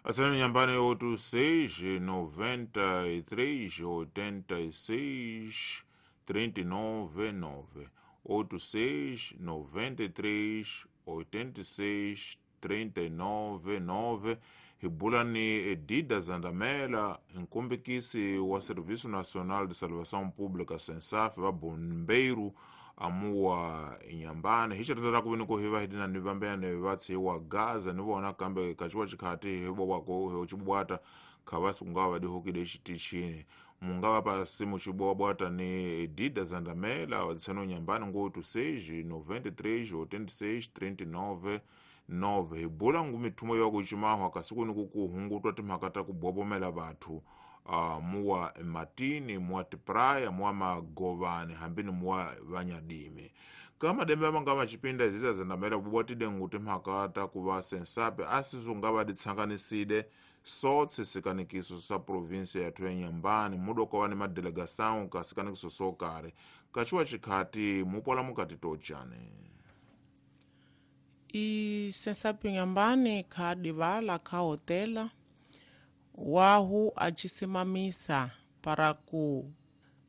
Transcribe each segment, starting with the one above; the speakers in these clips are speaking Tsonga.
Atsani Inhambane 86 93 86 39 9, 86 93 86 39 9. Hi bula ni Edida Zandamela, nkombekisi wa Serviço Nacional de Salvação Pública, SENSAF, va bombeiro amuwa Inhambane. Hi xirhendza ku vini ku hi va hi dina ni vambene va tshiwa Gaza ni vona, kambe kachiwa chikhati hi bobwako hi chibwata khavasi ku nga va dihokile xitichini. Mu nga va pasi muchibwabwata ni Edida Zandamela tseno Inhambane ngo 86 93 86 39 9. Hi bula ngu mithumo ya ku cimahwa kasi ku ni ku ku hungutwa timhaka ta ku bobomela vathu muwa matini, muwa tipraya, muwa magovani, hambi ni muwa vanyadimi. Ka madembe ma nga machipinda ziza Zandamela bubwatide ngu timhaka ta ku va sensape asisu nga va ditsanganiside sotse sikanikiso sa provinsia yathu ya Inhambane, mudo wa ni madelegação ka sikanikiso so kare kachiwa chikhati mupola mukati tochane. I sensapi Inhambane kha divala kha hotela wahu acisimamisa para ku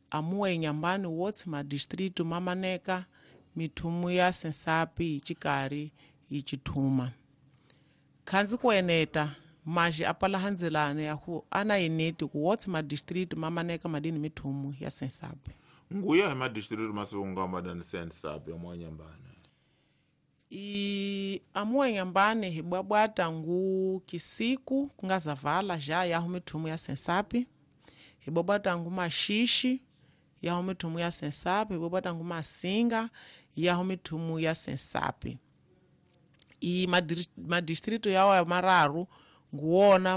amuwa Inhambane wotse madistrito mamaneka mithumu ya sensapi icikari icithuma khanzi kueneta maji apala hanzelane yahu ana ineti ku wotse madistrito mamaneka madini mithumu ya sensapi. Nguya hi madistrito masiku madani sensapi ya Inhambane? I amuwa Inhambane hibwabwata ngu Kisiku kungazavala já yahu mithumu ya sensapi, hibwabwata ngu Maxixi yahu mithumu ya sensapi, hibwabwata ngu Masinga yahu mithumu ya sensapi. I madistrito yawo ya mararu nguwona.